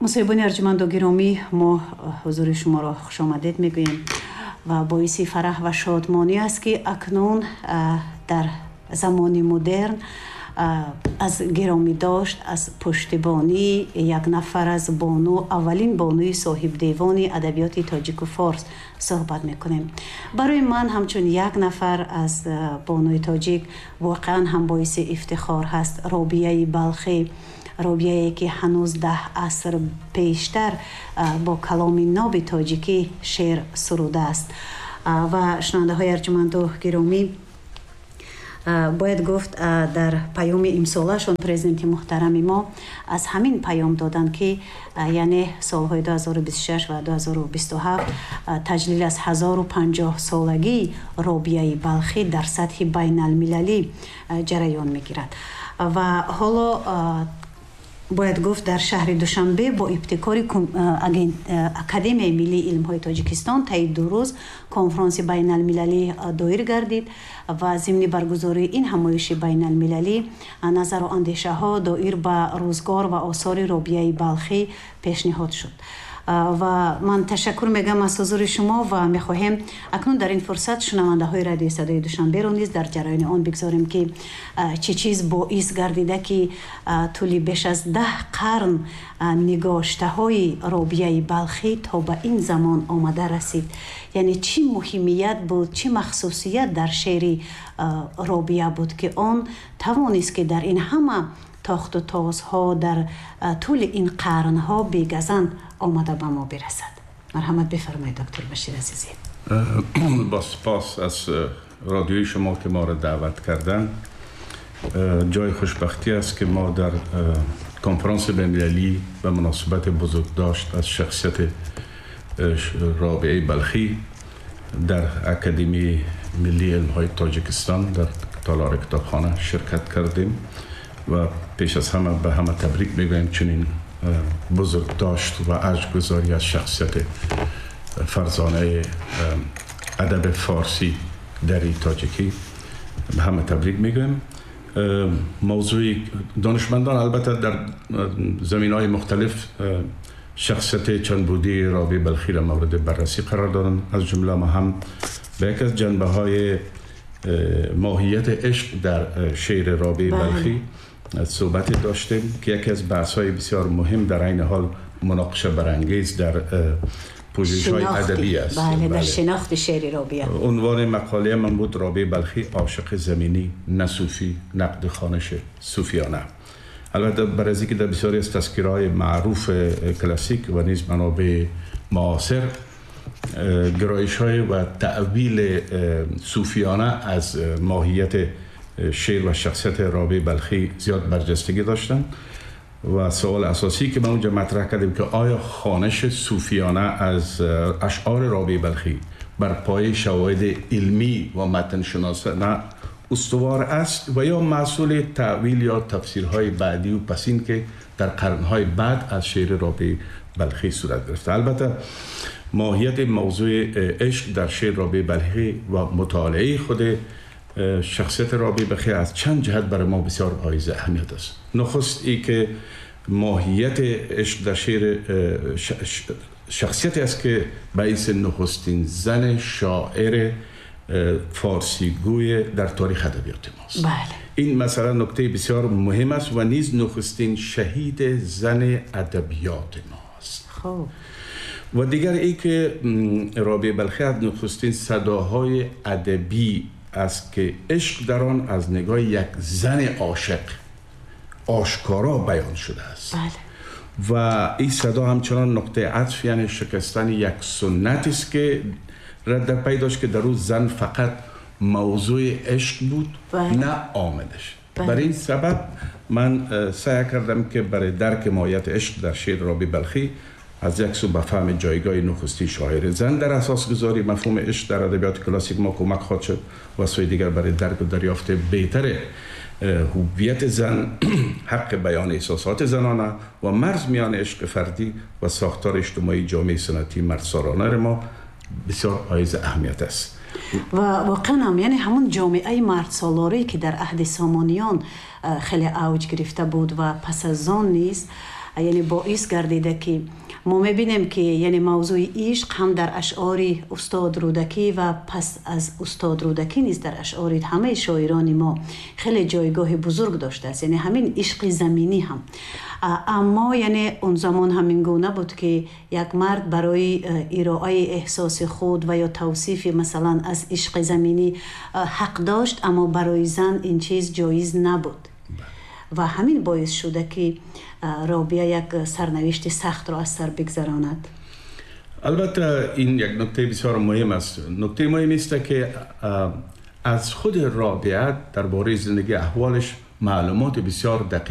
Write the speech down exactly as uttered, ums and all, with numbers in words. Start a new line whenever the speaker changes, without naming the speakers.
Мусоҳибони арҷуманду гиромӣ, мо ҳузури шуморо хушомадед мегӯем ва боиси фараҳ ва шодмонӣ аст, ки акнун дар замони модерн аз гиромӣ дошт, аз пуштибонии як нафар аз бону, аввалин бонуи соҳибдевони адабиёти тоҷику форс суҳбат мекунем. Барои ман ҳамчун як нафар аз бонуи тоҷик воқеан ҳам боиси ифтихор ҳаст. Робияи Балхӣ, робияе ки ҳанӯз даҳ аср пештар бо каломи ноби тоҷикӣ шеър сурудааст. Ва шунавандаҳои арҷуманду гиромӣ, бояд гуфт, дар паёми имсолашон президенти муҳтарами мо аз ҳамин паём доданд, ки яъне солҳои ду ҳазору бисту шаш ва ду ҳазору бисту ҳафт таҷлил аз ҳазору панҷоҳ солагии Робияи Балхӣ дар сатҳи байналмилалӣ ҷараён мегирад. Ва ҳоло бояд гуфт, дар шаҳри Душанбе бо ибтикори Академияи миллии илмҳои Тоҷикистон таи ду рӯз конфронси байналмилалӣ доир гардид ва зимни баргузории ин ҳамоиши байналмилалӣ назару андешаҳо доир ба рӯзгор ва осори Робияи Балхӣ пешниҳод шуд. Ва ман ташаккур мегӯям аз ҳузури шумо ва мехоҳем акнун дар ин фурсат шунавандаҳои Радиои Садои Душанберо низ дар ҷараёни он бигзорем, ки чӣ чиз боис гардида, ки тӯли беш аз даҳ қарн нигоштаҳои Робияи Балхӣ то ба ин замон омада расид, яъне чӣ муҳимият буд, чӣ махсусият дар шеъри Робия буд, ки он тавонист, ки дар ин ҳама тохту тозҳо, дар тӯли ин қарнҳо бегазанд омада ба мо бирасад. Марҳамат бифармоед, доктор Башир азизӣ.
با سپاس از رادیوی شما که ما را دعوت کردن. جای خوشبختی است که ما در کنفرانس بین‌المللی به مناسبت بزرگداشت از شخصیت رابعه بلخی در اکادمی ملی علم‌های تاجیکستان در تالار کتابخانه شرکت کردیم و پیش از همه به همه تبریک میگویم. چنین بزرگداشت و ارجگذاری از شخصیت فرزانه ادب فارسی دری تاجیکی به همه تبریک میگویم. موضوع دانشمندان البته در زمین های مختلف شخصیت چند بعدی رابعه بلخی را مورد بررسی قرار دادن. از جمله ما هم به یکی از جنبه های ماهیت عشق در شعر رابعه بله. بلخی صحبت داشتیم که یکی از بحث های بسیار مهم، در عین حال مناقشه برانگیز در پژوهش های ادبی است.
بله, بله. در شناخت شعر رابعه.
عنوان مقاله من بود رابعه بلخی عاشق زمینی نه صوفی، نقد خوانش صوفیانه. البته برای که در بسیاری از تذکره‌های معروف کلاسیک و نیز منابع معاصر گرایش های و تأویل صوفیانه از ماهیت شعر و شخصیت رابعه بلخی زیاد برجستگی داشتن و سوال اساسی که ما اونجا مطرح کردیم که آیا خوانش صوفیانه از اشعار رابعه بلخی بر پایه شواهد علمی و متن شناسانه استوار است و یا محصول تأویل یا تفسیرهای بعدی و پسین که در قرنهای بعد از شعر رابعه بلخی صورت گرفته. البته ماهیت موضوع عشق در شعر رابعه بلخی و مطالعه خود شخصیت رابعه بلخی از چند جهت برای ما بسیار حائز اهمیت است. نخست ای که ماهیت عشق در شعر شخصیتی است که به حیث نخستین زن شاعر فارسیگوی در تاریخ ادبیات ماست.
بله.
این مثلا نکته بسیار مهم است و نیز نخستین شهید زن ادبیات ماست.
خب.
و دیگر ای که رابعه بلخی از نخستین صداهای ادبی است که عشق در آن از نگاه یک زن عاشق آشکارا بیان شده است.
بله.
و این صدا همچنان نقطه عطف، یعنی شکستن یک سنت است که رد در پی داشت که در او زن فقط موضوع عشق بود،
بله.
نه عاملش.
بله.
برای این سبب من سعی کردم که برای درک ماهیت عشق در شعر رابعه بلخی از یک سو به فهم جایگاه نخستین شاعر زن در اساس گذاری مفهوم عشق در ادبیات کلاسیک ما کمک خواهد شد و سوی دیگر برای درک و دریافت بهتر هویت زن، حق بیان احساسات زنانه و مرز میان عشق فردی و ساختار اجتماعی جامعه سنتی مردسالارانه ما بسیار حائز اهمیت است.
و واقعا هم یعنی همون جامعه مردسالاری که در عهد سامانیان خیلی اوج گرفته بود و پس از آن نیز، Яъне боис гардида, ки мо мебинем, ки яъне мавзӯи ишқ ҳам дар ашъори устод Рӯдакӣ ва пас аз устод Рӯдакӣ низ дар ашъори ҳамаи шоирони мо хеле ҷойгоҳи бузург доштааст, яъне ҳамин ишқи заминӣ ҳам. Аммо яъне он замон ҳамин гуна буд, ки як мард барои ироаи эҳсоси худ ва ё тавсифи масалан аз ишқи заминӣ ҳақ дошт, аммо барои зан ин чиз ҷоиз набуд ва ҳамин боис шуда, ки Робия як сарнавишти сахтро аз сар бигзаронад.
Албатта, ин як нукта бисёр муҳим аст. Нукта муҳим аст, ки аз худ Робиа дар бораи зиндагӣ, аҳволаш маълумот бисёр дақиқ